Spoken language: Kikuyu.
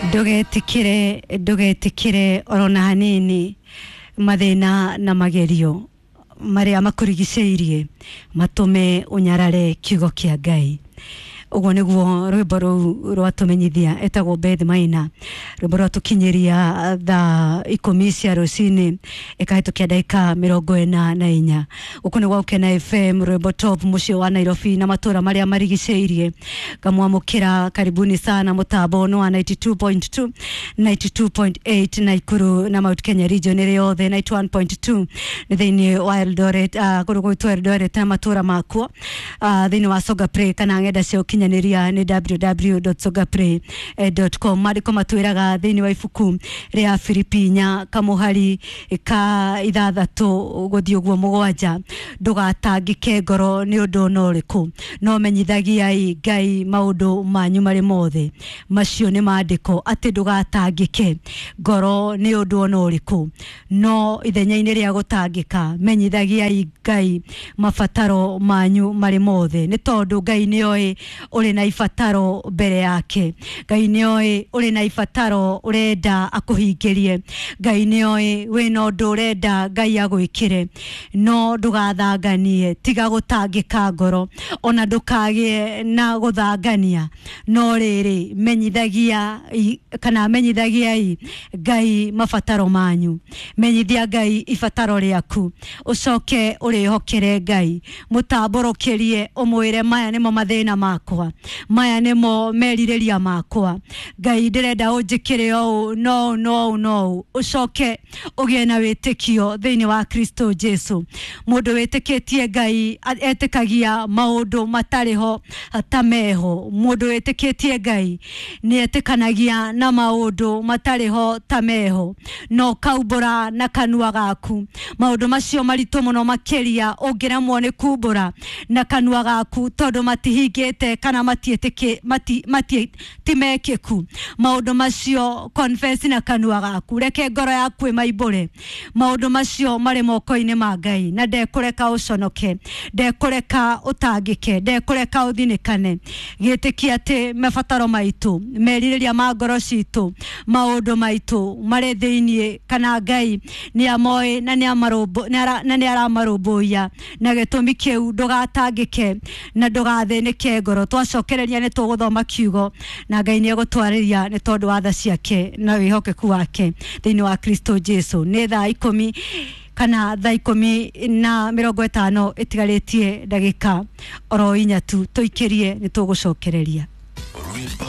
Ndugetikire, ndugetikire orona hanini mathina na magerio maria makurigicĩirie matume unyarare kiugo kia Ngai. Ũguo nĩguo rwĩmbo rũu rwatũmenyithia, etagwo Beth Maina. Rwĩmbo rwatũkinyĩria thaa 10 cia rũcinĩ ĩkahĩtũkia ndagĩka 44. Gũkũ nĩ gwa Gũkena FM, rwĩmbo top, mũciĩ wa Nairobi na matũra marĩa marigicĩirie. Ngamwamũkĩra, karibuni sana. Mũtambo nĩ wa 92.2, 92.8 Naikuru na Mount Kenya region ĩrĩ yothe, 91.2 nĩ thĩinĩ wa Eldoret, kũndũ gwĩtwo Eldoret na matũra makuo, thĩinĩ wa Songa Play kana ng'enda cia ũkinyanĩria nĩ www.songaplay.com. Maandĩko matwĩraga thĩinĩ wa ibuku rĩa Filipi 4 kamũhari ka 6 gũthiĩ ũguo 7, ndũgatangĩke ngoro nĩ ũndũ ona ũrĩkũ, no menyithagiai Ngai maũndũ manyu marĩ mothe. Macio nĩ maandĩko atĩ ndũgatangĩke ngoro nĩ ũndũ ona ũrĩkũ, no ithenya-inĩ rĩa gũtangĩka menyithagiai Ngai mabataro manyu marĩ mothe, nĩ tondũ Ngai nĩoĩ ũrĩ na ibataro mbere yake. Ngai nĩoĩ ũrĩ na ibataro ũrenda akũhingĩrie. Ngai nĩoĩ wĩna ũndũ ũrenda Ngai agwĩkĩre, no ndũgathanganie, tiga gũtangĩka ngoro ona ndũkagĩe na gũthangania, no rĩrĩ menyithagia kana menyithagiai Ngai mabataro manyu. Menyithia Ngai ibataro rĩaku, ũcoke ũrĩhokere Ngai, mũtambũrũkĩrie, ũmwĩre maya nĩmo mathĩna makwa, maya nĩmo merirĩria makwa, Ngai ndĩrenda ũnjĩkĩre ũũ no ũũ no ũũ no ũũ. Ũcoke ũgĩe na wĩtĩkio thĩinĩ wa Kristo Jesu. Mũndũ wĩtĩkĩtie Ngai etĩkagia maũndũ matarĩ ho ta meho. Mũndũ wĩtĩkĩtie Ngai nĩ etĩkanagia na maũndũ matarĩ ho ta meho, no kaumbũra na kanua gaku maũndũ macio maritũ mũno makĩria ũngĩremwo nĩ kumbũra na kanua gaku tondũ matihingĩte kana matiĩtĩkĩ mati, mati, ti mekĩku. Maũndũ macio confess na kanua gaku, reke ngoro yaku ĩmaimbũre. Maũndũ macio marĩ moko-inĩ ma Ngai na ndekũreka ũconoke, ndekũreka ũtangĩke, ndekũreka ũthinĩkane. Gĩtĩkia atĩ mabataro maitũ, merirĩria ma ngoro citũ, maũndũ maitũ marĩ thĩiniĩ kana Ngai nĩ amoĩ na nĩ aramarũmbũiya, na gĩtũmi kĩu ndũgatangĩke na ndũgathĩnĩke ngoro. Twacokereria nĩ tũgũthoma kiugo na Ngai nĩ egũtwarĩria nĩ tondũ wa tha ciake na wĩhokeku wake thĩinĩ wa Kristo Jesu. Nĩ thaa 10 kana thaa 10:50 ĩtigarĩtie ndagĩka oro 4 tu, tũikĩrie nĩ tũgũcokereria. Rwĩmbo.